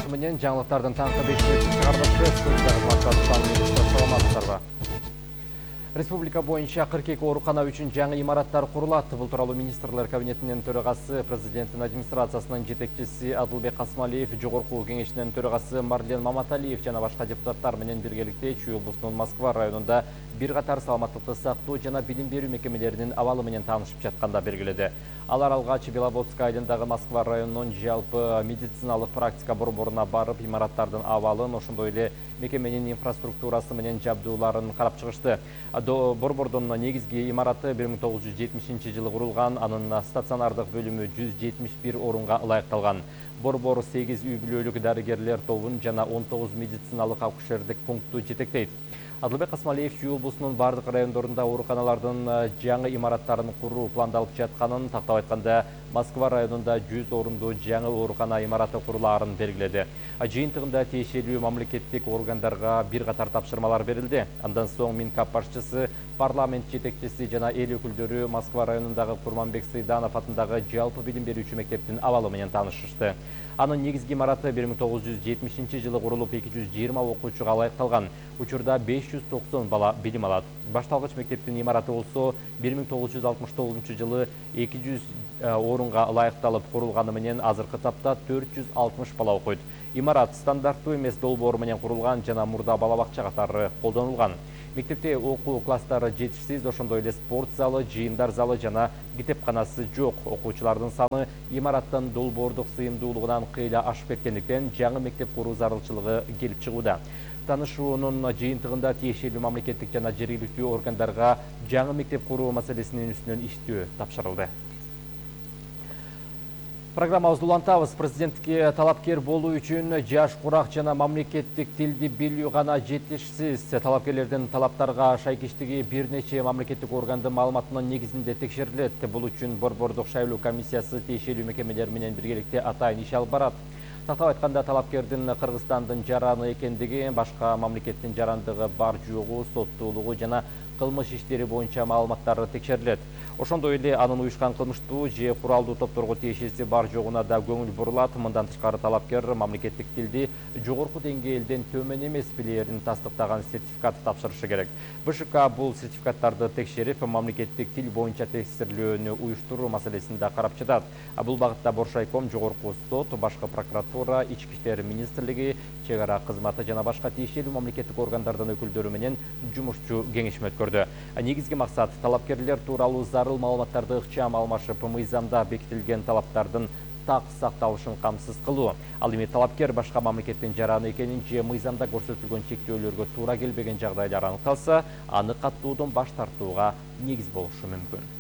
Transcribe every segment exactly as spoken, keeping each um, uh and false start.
аты менен жаңылыктардын таңкы бешинчи чыгарылышы студияда саламатсыздарбы. Республика боюнча кырк эки оорукана үчүн жаңы имараттар курулат. Бул тууралуу министрлер кабинетинин төрагасы, президенттин администрациясынын жетекчиси Адылбек Касмалиев, жогорку кеңешинин төрагасы Марлен Маматалиев жана башка депутаттар менен биргеликте Чүй облусунун Москва районунда бир катар саламаттыкты сактоо жана билим берүү мекемелеринин абалы менен таанышып жатканда белгиледи. Алар алгач Беловодск айылындагы Москва районунун жалпы медициналык практика борборуна барып, имараттардын абалын, ошондой эле мекеменин инфраструктурасы менен жабдууларын карап чыгышты. Борбордун негизги имараты бир миң тогуз жүз жетимишинчи жылы курулган, анын стационардык бөлүмү жүз жетимиш бир орунга ылайыкталган. Борбор сегиз үй бүлөлүк дарыгерлер тобун жана он тогуз медициналык акушердик пунктту жетектейт. Адылбек Касмалиев Чүй облусунун бардык райондорунда ооруканалардын жаңы имараттарын куруу пландалып жатканын, тактап айтканда Москва районунда жүз орунду жаңы оорукана имараты курулаарын белгиледи. Жыйынтыгында тиешелүү мамлекеттик органдарга бир катар тапшырмалар берилди. Андан соң Минкап башчысы, парламент жетекчиси жана эл өкүлдөрү Москва районундагы Курманбек Сыйданов атындагы жалпы билим берүүчү мектептин абалы менен таанышышты. Анын негизги имараты бир миң тогуз жүз жетимишинчи жылы курулуп, эки жүз жыйырма окуучуга ылайыкталган. Учурда беш жүз токсон бала билим алат. Башталгыч мектептин имараты болсо бир миң тогуз жүз алтымыш тогузунчу жылы эки жүз орунга ылайыкталып курулганы менен азыркы тапта төрт жүз алтымыш бала окуйт. Имарат стандарттуу эмес долбоор менен курулган жана мурда бала бакча катары колдонулган. Мектепте окуу класстары жетишсиз, ошондой эле спорт залы, жыйындар залы жана китепканасы жок. Окуучулардын саны имараттын долбоордук сыйымдуулугунан кыйла ашып кеткендиктен жаңы мектеп куруу зарылчылыгы келип чыгууда. Танышуунун жыйынтыгында тиешелүү мамлекеттик жана жергиликтүү органдарга жаңы мектеп куруу маселесинин үстүнөн иштөө тапшырылды. Программабызды улантабыз. Президентке талапкер болуу үчүн жаш, курак жана мамлекеттик тилди билүү гана жетишсиз. Талапкерлердин талаптарга шайкиштиги бир нече мамлекеттик органдын маалыматынын негизинде текшерилет. Бул үчүн борбордук шайлоо комиссиясы тиешелүү мекемелер менен биргеликте атайын иш алып барат. Тактап айтканда, талапкердин Кыргызстандын жараны экендиги, башка мамлекеттин жарандыгы бар жогу, соттуулугу жана кылмыш иштери боюнча маалыматтары текшерилет. Ошондой эле анын уюшкан кылмыштуу же куралдуу топторго тиешеси бар жогуна да көңүл бурулат. Мындан тышкары талапкер мамлекеттик тилди жогорку деңгээлден төмөн эмес билээрин тастыктаган сертификат тапшырышы керек. БШК бул сертификаттарды текшерип, мамлекеттик тил боюнча тестирлөөнү уюштуруу маселесин да карап жатат. Бул багытта Боршайком, жогорку сот, башкы прокуратура, ички иштер министрлиги, чек ара кызматы жана башка тиешелүү мамлекеттик органдардын өкүлдөрү менен жумушчу кеңешме өткөрдү. Негизги максат талапкерлер тууралуу зарыл маалыматтарды ыкчам алмашып, мыйзамда бекитилген талаптардын так сакталышын камсыз кылуу. Ал эми талапкер башка мамлекеттин жараны экенин же мыйзамда көрсөтүлгөн чектөөлөргө туура келбеген жагдайлар аныкталса, аны каттоодон баш тартууга негиз болушу мүмкүн.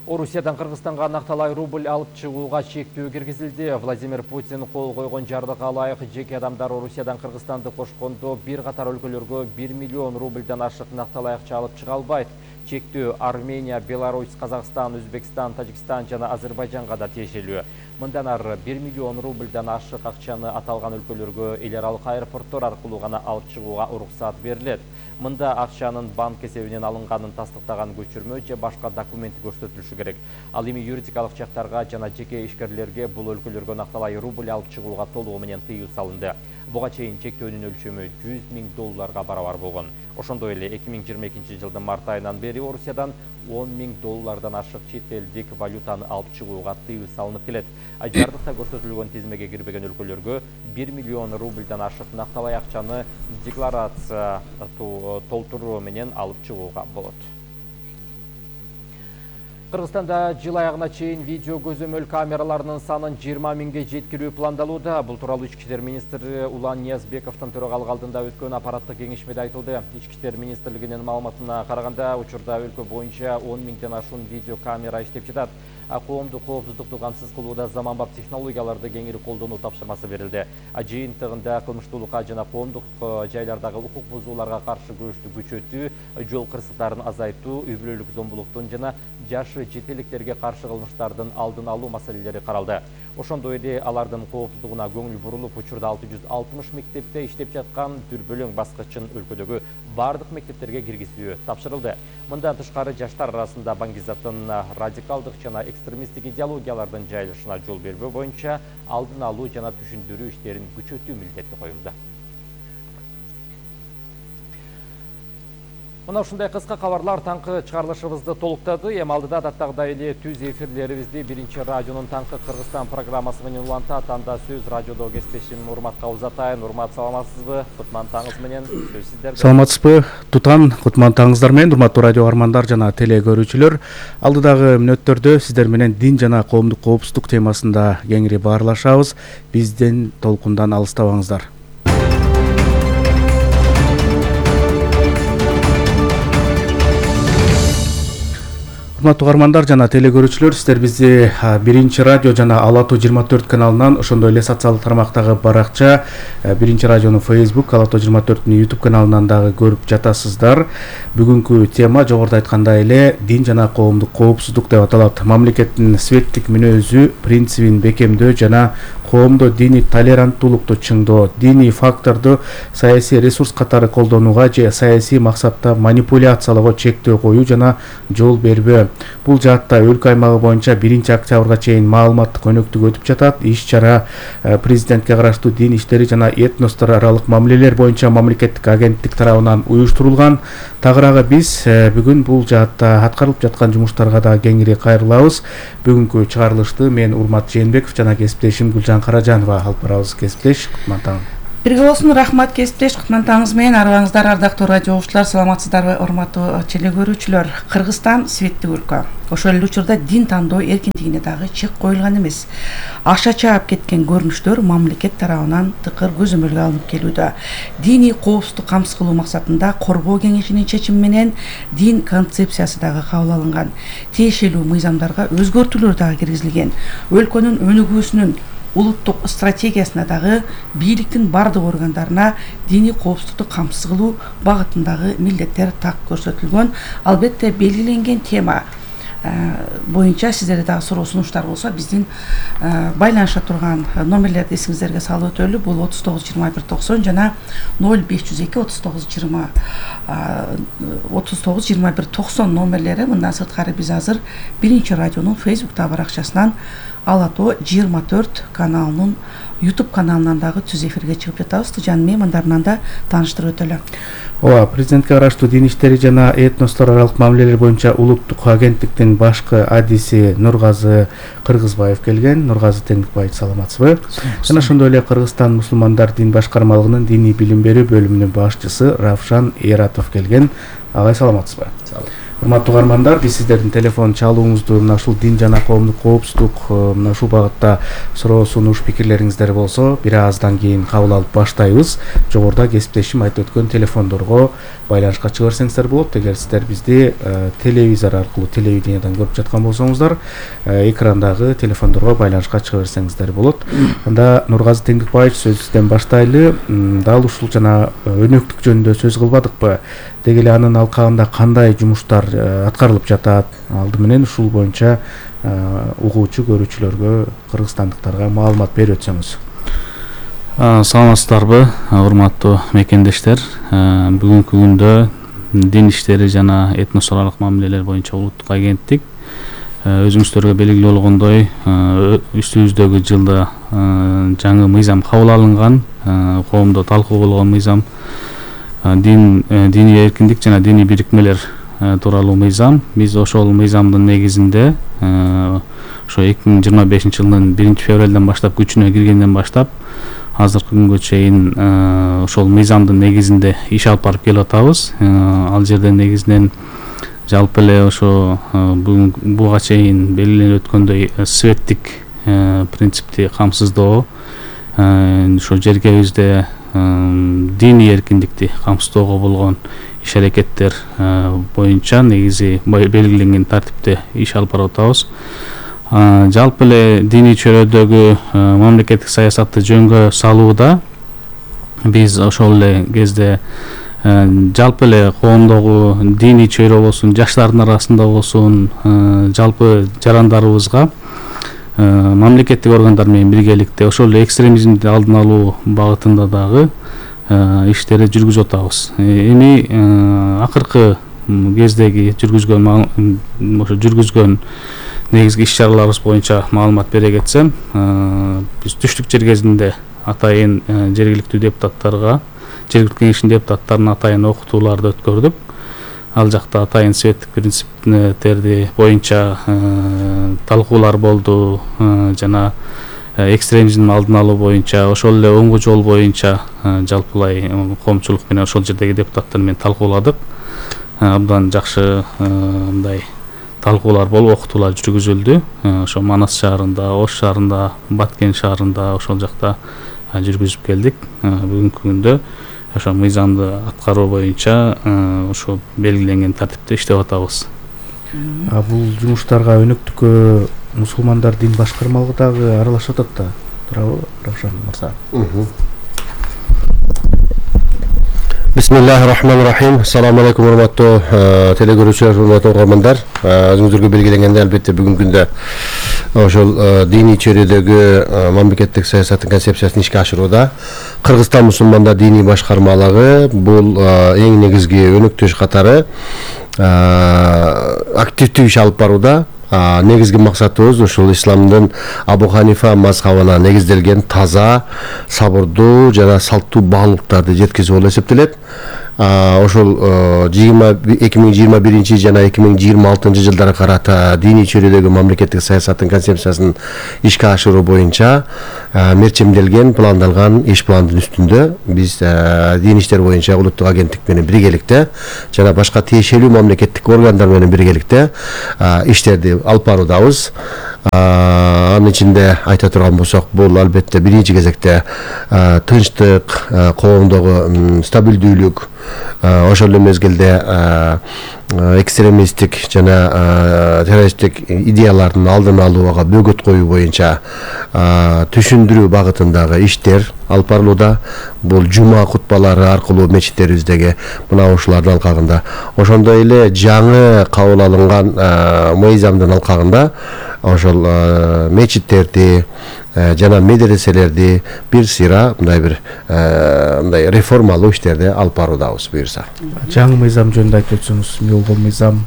Орусиядан Кыргызстанга накталай рубль алып чыгууга чектөө киргизилди. Владимир Путин кол койгон жардыга ылайык жеке адамдар Орусиядан Кыргызстанды кошкондо бир катар өлкөлөргө бир миллион рубльдан ашык накталай акча алып чыга албайт. Чектөө Армения, Беларусь, Казакстан, Өзбекстан, Тажикстан жана Азербайжанга да тиешелүү. Мындан ары бир миллион рубльдан ашык акчаны аталган өлкөлөргө эл аралык аэропорттор аркылуу гана алып чыгууга уруксат берилет. Мында акчанын банк эсебинен алынганын тастыктаган көчүрмө же башка документи көрсөтүлүшү керек. Ал эми юридикалык жактарга жана жеке ишкерлерге бул өлкөлөргө накталай рубль алып чыгууга толугу менен тыюу салынды. Буга чейин чектөөнүн өлчөмү жүз миң долларга барабар болгон. Ошондой эле эки миң жыйырма экинчи жылдын март айынан бери Орусиядан он миң доллардан ашык чет элдик валютаны алып чыгууга тыюу салынып келет. Жардыкта көрсөтүлгөн тизмеге кирбеген өлкөлөргө бир миллион рубльдан ашык накталай акчаны декларация толтуруу менен алып чыгууга болот. Кыргызстанда жыл аягына чейин видео көзөмөл камераларынын санын жыйырма миңге жеткирүү пландалууда. Бул тууралуу Ички иштер министри Улан Ниязбековдун төрагалык алдында өткөн аппараттык кеңешмеде айтылды. Ички иштер министрлигинин маалыматына караганда, учурда өлкө боюнча он миңден ашуун видео камера иштеп жатат. Коомдук коопсуздукту камсыз кылууда заманбап технологияларды кеңири колдонуу тапшырмасы берилди. Жыйынтыгында кылмыштуулукка жана коомдук жайлардагы укук бузууларга каршы күрөштү күчөтүү, жол кырсыктарын азайтуу, үй бүлөлүк зомбулуктун жана жашы жетеликтерге каршы кылмыштардын алдын алуу маселелери каралды. Ошондой эле алардын коопсуздугуна көңүл бурулуп, учурда алты жүз алтымыш мектепте иштеп жаткан дүрбөлөң баскычын өлкөдөгү бардык мектептерге киргизүү тапшырылды. Мындан тышкары жаштар арасында баңгизаттын радикалдык жана экстремисттик идеологиялардын жайылышына жол бербөө боюнча алдын алуу жана түшүндүрүү иштерин күчөтүү милдети коюлду. Мына ушундай кыска кабарлар таңкы чыгарылышыбызды толуктады. Эми алдыда адаттагыдай эле түз эфирлерибизди биринчи радионун таңкы Кыргызстан программасы менен улантат. Анда сөз радиодо кесиптешим Урматка узатайын. Урмат, саламатсызбы? Кутман таңыңыз менен сөз сиздерде. Саламатсызбы? Тутан, кутман таңыңыздар менен, урматтуу радио армандар жана теле көрүүчүлөр. Алдыдагы мүнөттөрдө сиздер менен дин жана коомдук коопсуздук темасында кеңири баарлашабыз. Бизден толкундан алыстабаңыздар. Урматтуу армандар жана теле көрүүчүлөр, сиздер бизди биринчи радио жана Ала Тоо жыйырма төрт каналынан, ошондой эле социалдык тармактагы баракча биринчи радионун Facebook, Ала Тоо жыйырма төрттүн YouTube каналынан дагы көрүп жатасыздар. Бүгүнкү тема жогоруда айткандай эле дин жана коомдук коопсуздук деп аталат. Мамлекеттин светтик мүнөзү, принцибин бекемдөө жана коомдо диний толеранттуулукту чыңдоо, диний факторду саясий ресурс катары колдонууга же саясий максатта манипуляциялоого чектөө коюу жана жол бербөө. Бул жаатта өлкө аймагы боюнча биринчи октябрга чейин маалыматтык өнөктүк өтүп жатат. Иш-чара президентке караштуу дин иштери жана этностор аралык мамилелер боюнча мамлекеттик агенттик тарабынан уюштурулган. Тагыраагы биз бүгүн бул жаатта аткарылып жаткан жумуштарга да кеңири кайрылабыз. Бүгүнкү чыгарылышты мен Урмат Жээнбеков жана кесиптешим Гүлжан Каражанова алып барабыз. Кесиптеш, кутман таң. Бирге болсун, рахмат кесиптеш, кутман таңыңыз менен. Арыбаңыздар, ардактуу радио угуучулар, саламатсыздарбы, урматтуу теле көрүүчүлөр. Кыргызстан светтик өлкө. Ошол эле учурда дин тандоо эркиндигине дагы чек коюлган эмес. Аша чаап кеткен көрүнүштөр мамлекет тарабынан тыкыр көзөмөлгө алынып келүүдө. Диний коопсуздук камсыз кылуу максатында коргоо кеңешинин чечими менен дин концепциясы дагы кабыл алынган. Тиешелүү мыйзамдарга өзгөртүүлөр дагы киргизилген. Өлкөнүн өнүгүүсүнүн улуттук стратегиясына дагы бийликтин бардык органдарына диний коопсуздукту камсыз кылуу багытындагы милдеттер так көрсөтүлгөн. Албетте белгиленген тема боюнча сиздерде дагы суроо сунуштар болсо биздин байланыша турган номерлерди эсиңиздерге салып өтөлү. Бул отуз тогуз жыйырма бир токсон жана ноль беш жүз эки отуз тогуз жыйырма отуз тогуз жыйырма бир токсон номерлери. Мындан сырткары биз азыр биринчи радионун Facebook баракчасынан Ала Тоо жыйырма төрт каналынын YouTube каналынан дагы түз эфирге чыгып жатабыз. Жан меймандарынан да тааныштырып өтөлү. Ооба, президентке караштуу дин иштери жана этностор аралык мамилелер боюнча улуттук агенттиктин башкы адиси Нургазы Кыргызбаев келген. Нургазы Теңдикбаев, саламатсызбы? Жана ошондой эле Кыргызстан мусулмандар дин башкармалыгынын диний билим берүү бөлүмүнүн башчысы Равшан Эратов келген. Агай, саламатсызбы? Урматтуу армандар, биз сиздердин телефон чалууңузду мына ушул дин жана коомдук коопсуздук мына ушул багытта суроо сунуш пикирлериңиздер болсо бир аздан кийин кабыл алып баштайбыз. Жогоруда кесиптешим айтып өткөн телефондорго байланышка чыга берсеңиздер болот. Эгер сиздер бизди телевизор аркылуу, телевидениядан көрүп жаткан болсоңуздар, экрандагы телефондорго байланышка чыга берсеңиздер болот. Анда Нургазы Теңдикбаев, сөз сизден баштайлы. Дал ушул жана өнөктүк жөнүндө сөз кылбадыкпы? Деги эле анын алкагында кандай жумуштар аткарылып жатат? Алды менен ушул боюнча угуучу көрүүчүлөргө, кыргызстандыктарга маалымат берип өтсөңүз. Саламатсыздарбы, урматтуу мекендештер. Бүгүнкү күндө дин иштери жана этнос аралык мамилелер боюнча улуттук агенттик өзүңүздөргө белгилүү болгондой үстүбүздөгү жылда жаңы мыйзам кабыл алынган, коомдо талкуу болгон мыйзам, дин диний эркиндик жана диний бирикмелер тууралуу мыйзам. Биз ошол мыйзамдын негизинде ошо эки миң жыйырма бешинчи жылдын биринчи февралдан баштап күчүнө киргенден баштап азыркы күнгө чейин ошол мыйзамдын негизинде иш алып барып келип атабыз. Ал жерде негизинен жалпы эле ошо бүгүн буга чейин белгиленип өткөндөй светтик принципти камсыздоо, ошо жеркебизде диний эркиндикти камсыздоого болгон иш аракеттер боюнча негизи белгиленген тартипте иш алып барып атабыз. Жалпы эле диний чөйрөдөгү мамлекеттик саясатты жөнгө салууда биз ошол эле кезде жалпы эле коомдогу диний чөйрө болсун, жаштардын арасында болсун, жалпы жарандарыбызга мамлекеттик органдар менен биргеликте ошол эле экстремизмди алдын алуу багытында дагы иштерди жүргүзүп атабыз. Эми акыркы кездеги жүргүзгөн ошо жүргүзгөн негизги иш чараларыбыз боюнча маалымат бере кетсем, биз түштүк жер кезинде атайын жергиликтүү депутаттарга, жергиликтүү кеңештин депутаттарына атайын окутууларды өткөрдүк. Ал жакта атайын светтик принциптерди боюнча талкуулар болду, жана экстремизмдин алдын алуу боюнча, ошол эле оңгу жол боюнча жалпылай коомчулук менен ошол жердеги депутаттар менен талкууладык. Абдан жакшы мындай талкуулар болуп, окутуулар жүргүзүлдү. Ошо Манас шаарында, Ош шаарында, Баткен шаарында ошол жакта жүргүзүп келдик. Бүгүнкү күндө ошо мыйзамды аткаруу боюнча ошо белгиленген тартипте иштеп атабыз. А бул жумуштарга өнөктүккө мусулмандар дин башкармалыгы дагы аралашып атат да, туурабы, Равшан мырза? Бисмиллахир-рахманир-рахим. Assalamu алейкум, урматтуу телекөрүүчүлөр, урматтуу угармандар. Өзүңүздөргө белгиленгендей, албетте бүгүнкү күндө ошол диний чөйрөдөгү мамлекеттик саясаттын концепциясын ишке ашырууда Кыргызстан мусулмандар диний башкармалыгы бул эң негизги өнөктөш катары активдүү иш алып барууда. Негизги максатыбыз ушул исламдын Абу Ханифа мазхабына негизделген таза, сабырдуу жана салттуу баалуулуктарды жеткизүү болуп эсептелет. Ошол эки миң жыйырма биринчи жана эки миң жыйырма алтынчы жылдары карата диний чөйрөдөгү мамлекеттик саясаттын концепциясын ишке ашыруу боюнча мерчемделген, пландалган иш пландын үстүндө биз дин иштер боюнча улуттук агенттик менен биргеликте жана башка тиешелүү мамлекеттик органдар менен биргеликте иштерди алып баруудабыз. Анын ичинде айта турган болсок, бул албетте биринчи кезекте тынчтык, коомдогу стабилдүүлүк, ошол эле мезгилде экстремисттик жана террористтик идеялардын алдын алууга бөгөт коюу боюнча түшүндүрүү багытындагы иштер алып барылууда. Бул жума кутбалары аркылуу мечиттерибиздеги мына ушулардын алкагында, ошондой эле жаңы кабыл алынган мыйзамдын алкагында ошол мечиттерди жана медреселерди бир сыйра мындай бир мындай реформалуу иштерди алып баруудабыз буюрса. Жаңы мыйзам жөнүндө айтып өтсөңүз, эмне болгон мыйзам?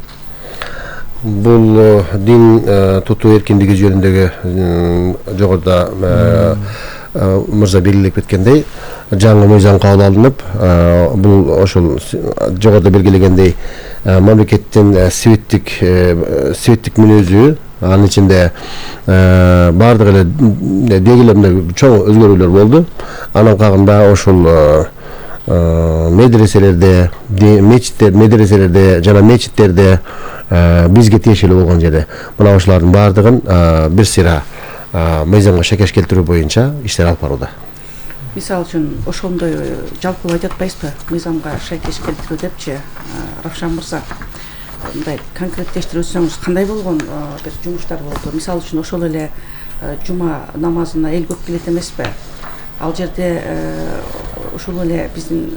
Бул дин тутуу эркиндиги жөнүндөгү жогоруда мырза белгилеп кеткендей жаңы мыйзам кабыл алынып, бул ошол жогоруда белгилегендей мамлекеттин светтик светтик мүнөзү, анын ичинде баардык эле деги эле мындай чоң өзгөрүүлөр болду. Анын алкагында ошол медреселерде, мечиттер, медреселерде жана мечиттерде бизге тиешелүү болгон жерде мына ошолардын баардыгын бир сыйра мыйзамга шекеш келтирүү боюнча иштер алып барууда. Мисалы үчүн ошондой жалпылап айтып атпайсызбы, мыйзамга шекеш келтирүү депчи, Равшан мырза? Мындай конкреттештирип өтсөңүз, кандай болгон бир жумуштар болду? Мисалы үчүн ошол эле жума намазына эл көп келет эмеспи? Ал жерде ошол эле биздин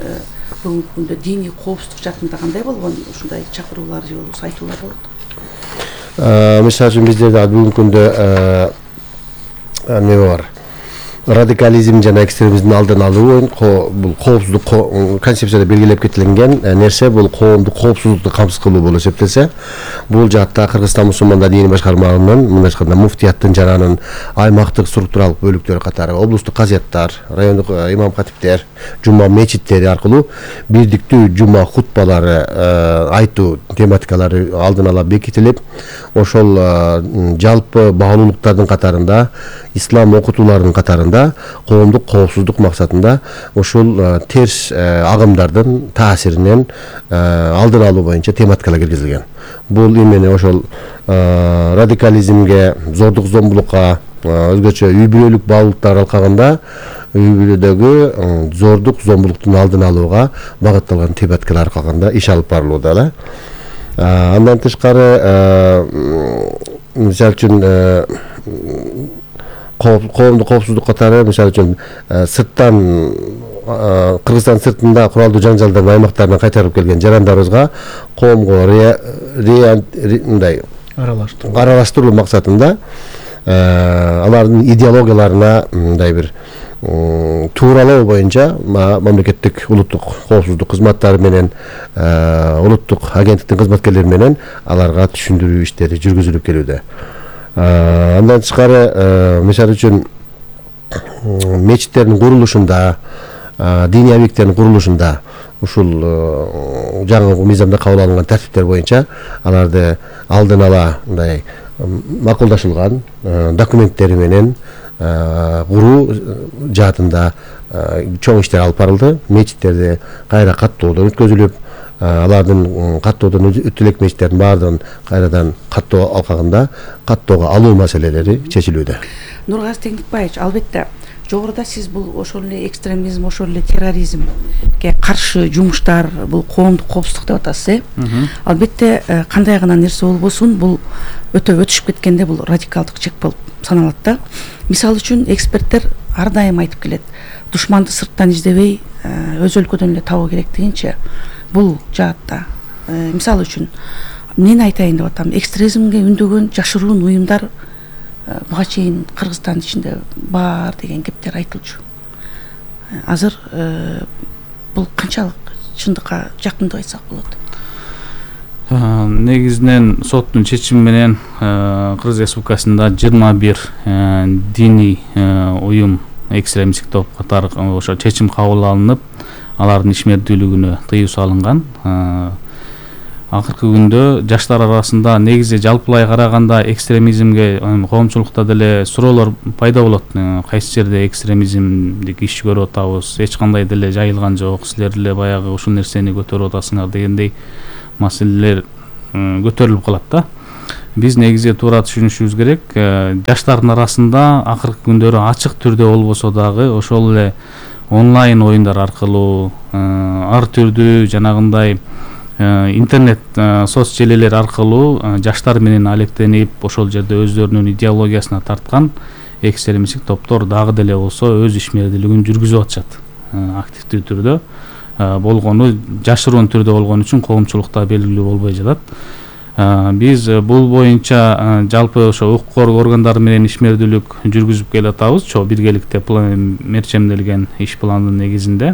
бүгүнкү күндө диний коопсуздук жакында кандай болгон ушундай чакыруулар же болбосо айтуулар болот? Мисалы үчүн бизде бүгүнкү күндө эме бар. Радикализм жана экстремизмдин алдын алуу бул коопсуздук концепцияда белгилеп кетилген нерсе, бул коомдук коопсуздукту камсыз кылуу болуп эсептелсе, бул жаатта Кыргызстан мусулмандар дини башкармалыгынын мындай айтканда муфтияттын жана анын аймактык структуралык бөлүктөрү катары облустук казияттар, райондук имам катиптер, жума мечиттери аркылуу бирдиктүү жума хутбалары айтуу тематикалары алдын ала бекитилип, ошол жалпы баалуулуктардын катарында, ислам окутууларынын катарында коомдук коопсуздук максатында ушул терс агымдардын таасиринен алдын алуу боюнча тематикалар киргизилген. Бул эмне ошол радикализмге, зордук зомбулукка, өзгөчө үй бүлөлүк баалуулуктар алкагында үй бүлөдөгү зордук зомбулуктун алдын алууга багытталган тематикалар алкагында иш алып барылууда да. Андан тышкары, мисалы үчүн коомдук коопсуздук катары, мисалы үчүн сырттан Кыргызстан сыртында куралдуу жаңжалдардын аймактарынан кайтарып келген жарандарыбызга коомго мындай аралаштыруу максатында алардын идеологияларына мындай бир тууралоо боюнча мамлекеттик улуттук коопсуздук кызматтары менен улуттук агенттиктин кызматкерлери менен аларга түшүндүрүү иштери жүргүзүлүп келүүдө. Андан тышкары мисалы үчүн мечиттердин курулушунда, диний объекттердин курулушунда ушул жаңы мыйзамда кабыл алынган тартиптер боюнча аларды алдын ала мындай макулдашылган документтери менен куруу жаатында чоң иштер алып барылды. Мечиттерди кайра каттоодон өткөзүлүп, алардын каттоодон өтө элек мечиттердин баардыгын кайрадан каттоо алкагында каттоого алуу маселелери чечилүүдө. Нургазы Теңдикбаевич, албетте жогоруда сиз бул ошол эле экстремизм, ошол эле терроризмге каршы жумуштар, бул коомдук коопсуздук деп атасыз, э? Албетте кандай гана нерсе болбосун, бул өтө өтүшүп кеткенде бул радикалдык чек болуп саналат да. Мисалы үчүн эксперттер ар дайым айтып келет, душманды сырттан издебей өз өлкөдөн эле табуу керек дегенче, бул жаатта мисалы үчүн эмнени айтайын деп атам, экстремизмге үндөгөн жашыруун уюмдар буга чейин Кыргызстандын ичинде бар деген кептер айтылчу. Азыр бул канчалык чындыкка жакын деп айтсак болот? Негизинен соттун чечими менен Кыргыз Республикасында жыйырма бир диний уюм экстремисттик топ катары ошо чечим кабыл алынып, алардын ишмердүүлүгүнө тыюу салынган. Акыркы күндө жаштар арасында негизи жалпылай караганда экстремизмге коомчулукта деле суроолор пайда болот. Кайсы жерде экстремизмдик иш көрүп атабыз, эч кандай деле жайылган жок, силер деле баягы ушул нерсени көтөрүп атасыңар дегендей маселелер көтөрүлүп калат да. Биз негизи туура түшүнүшүбүз керек. Жаштардын арасында акыркы күндөрү ачык түрдө болбосо дагы ошол эле онлайн оюндар аркылуу, ар түрдүү жанагындай интернет соц желелер аркылуу жаштар менен алектенип, ошол жерде өздөрүнүн идеологиясына тарткан экстремисттик топтор дагы деле болсо өз ишмердүүлүгүн жүргүзүп атышат. Активдүү түрдө болгону, жашыруун түрдө болгон үчүн коомчулукта белгилүү болбой жатат. Биз бул боюнча жалпы ошо укук коргоо органдары менен ишмердүүлүк жүргүзүп келе атабыз. Чо биргеликте мерчемделген иш пландын негизинде.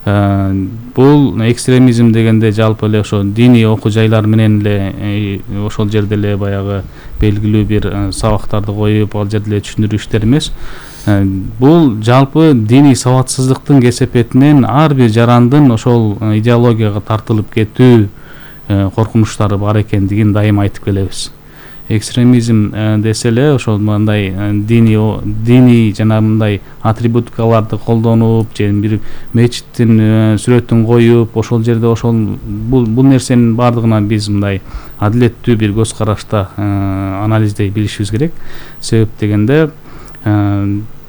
Бул экстремизм дегенде жалпы эле ошо диний окуу жайлар менен эле ошол жерде эле баягы белгилүү бир сабактарды коюп, ал жерде эле түшүндүрүү иштери эмес. Бул жалпы диний сабатсыздыктын кесепетинен ар бир жарандын ошол идеологияга тартылып кетүү коркунучтары бар экендигин дайым айтып келебиз. Экстремизм десе эле ошол мындай диний диний жана мындай атрибутикаларды колдонуп, же бир мечиттин сүрөтүн коюп, ошол жерде ошол бул бул нерсенин бардыгына биз мындай адилеттүү бир көз карашта анализдей билишибиз керек. Себеп дегенде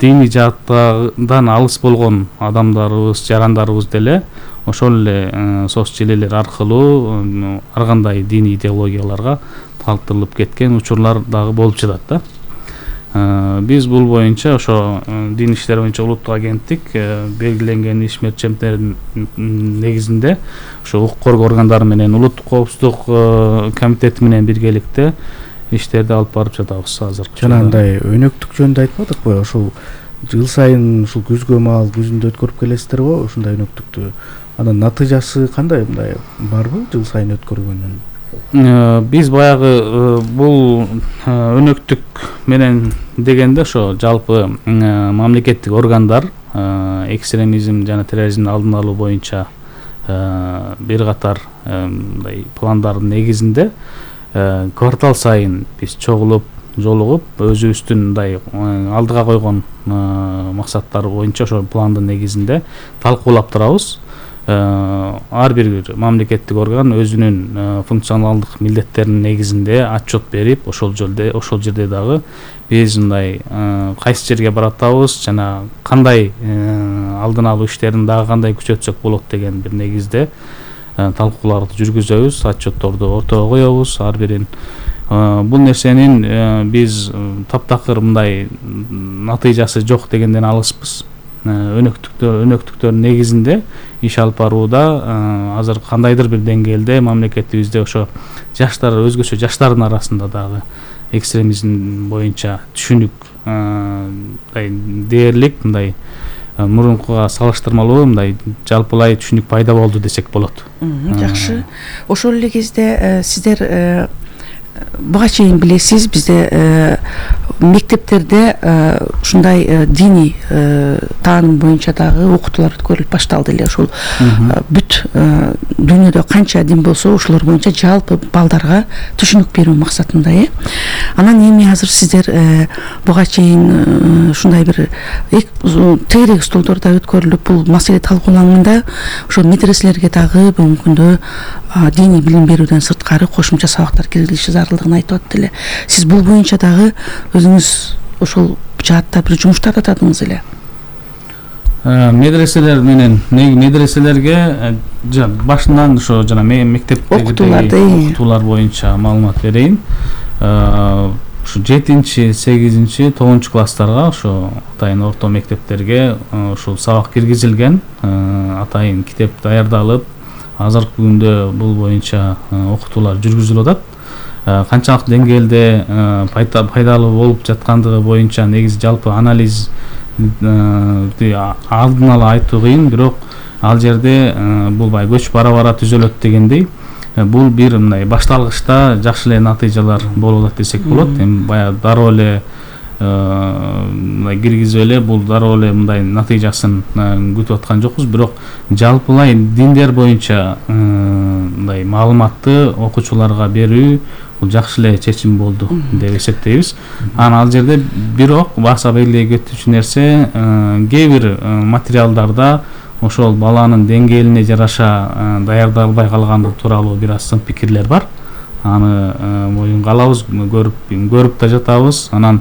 диний жааттан алыс болгон адамдарыбыз, жарандарыбыз деле ошол эле соц желелер аркылуу ар кандай диний идеологияларга тартылып кеткен учурлар дагы болуп жатат да. Биз бул боюнча ошо дин иштери боюнча улуттук агенттик белгиленген иш мерчемдердин негизинде ошо укук коргоо органдары менен улуттук коопсуздук комитети менен биргеликте иштерди алып барып жатабыз азыр. Жанагындай өнөктүк жөнүндө айтпадыкпы? Ошол жыл сайын ушул күзгө маал күзүндө өткөрүп келесиздер го ушундай өнөктүктү. Анын натыйжасы кандай, мындай барбы жыл сайын өткөргөндүн? Биз баягы бул өнөктүк менен дегенде ошо жалпы мамлекеттик органдар экстремизм жана терроризмдин алдын алуу боюнча бир катар мындай пландардын негизинде квартал сайын биз чогулуп, жолугуп, өзүбүздүн мындай алдыга койгон максаттар боюнча ошол пландын негизинде талкуулап турабыз. Ар бир мамлекеттик орган өзүнүн функционалдык милдеттеринин негизинде отчет берип, ошол жерде ошол жерде дагы биз мындай кайсы жерге баратабыз жана кандай алдын алуу иштерин дагы кандай күчөтсөк болот деген бир негизде талкууларды жүргүзөбүз, отчетторду ортого коебуз ар бирин. Бул нерсенин биз таптакыр мындай натыйжасы жок дегенден алыспыз. Өнөктүктөр өнөктүктөр негизинде иш алып барууда азыр кандайдыр бир деңгээлде мамлекетибизде ошо жаштар өзгөчө жаштардын арасында дагы экстремизм боюнча түшүнүк мындай дээрлик мындай мурункуга салыштырмалуу мындай жалпылай түшүнүк пайда болду десек болот. Жакшы. Ошол эле кезде сиздер буга чейин билесиз, бизде мектептерде ушундай диний тааным боюнча дагы окутуулар өткөрүлүп башталды эле. Ошол бүт дүйнөдө канча дин болсо ошолор боюнча жалпы балдарга түшүнүк берүү максатында, э. Анан эми азыр сиздер буга чейин ушундай бир тегерек столдордо өткөрүлүп бул маселе талкууланганда, ошол медреселерге дагы бүгүнкү күндө диний билим берүүдөн сырткары кошумча сабактар киргизилиши зарылдыгын айтып атты эле. Сиз бул боюнча дагы өзүңүз ошол жаатта бир жумуштар атадыңыз эле. Медреселер менен медреселерге башынан ошо жана мектептеги окутуулар боюнча маалымат берейин. Ушу жетинчи, сегизинчи, тогузунчу класстарга ошо атайын орто мектептерге ушул сабак киргизилген, атайын китеп даярдалып, азыркы күндө бул боюнча окутуулар жүргүзүлүп атат. Канчалык деңгээлде пайдалуу болуп жаткандыгы боюнча негизи жалпы анализ алдын ала айтуу кыйын, бирок ал жерде бул бай көч бара-бара түзөлөт дегендей, бул бир мындай башталгычта жакшы эле натыйжалар болуп атат десек болот. Эми баягы дароо эле мындай киргизип эле бул дароо эле мындай натыйжасын күтүп аткан жокпуз, бирок жалпылай диндер боюнча мындай маалыматты окуучуларга берүү бул жакшы эле чечим болду деп эсептейбиз. Анан ал жерде бирок баса белгилей кетүүчү нерсе, кээ бир материалдарда ошол баланын деңгээлине жараша даярдалбай калгандыгы тууралуу бир аз сын пикирлер бар. Аны моюнга алабыз, көрүп көрүп да жатабыз. Анан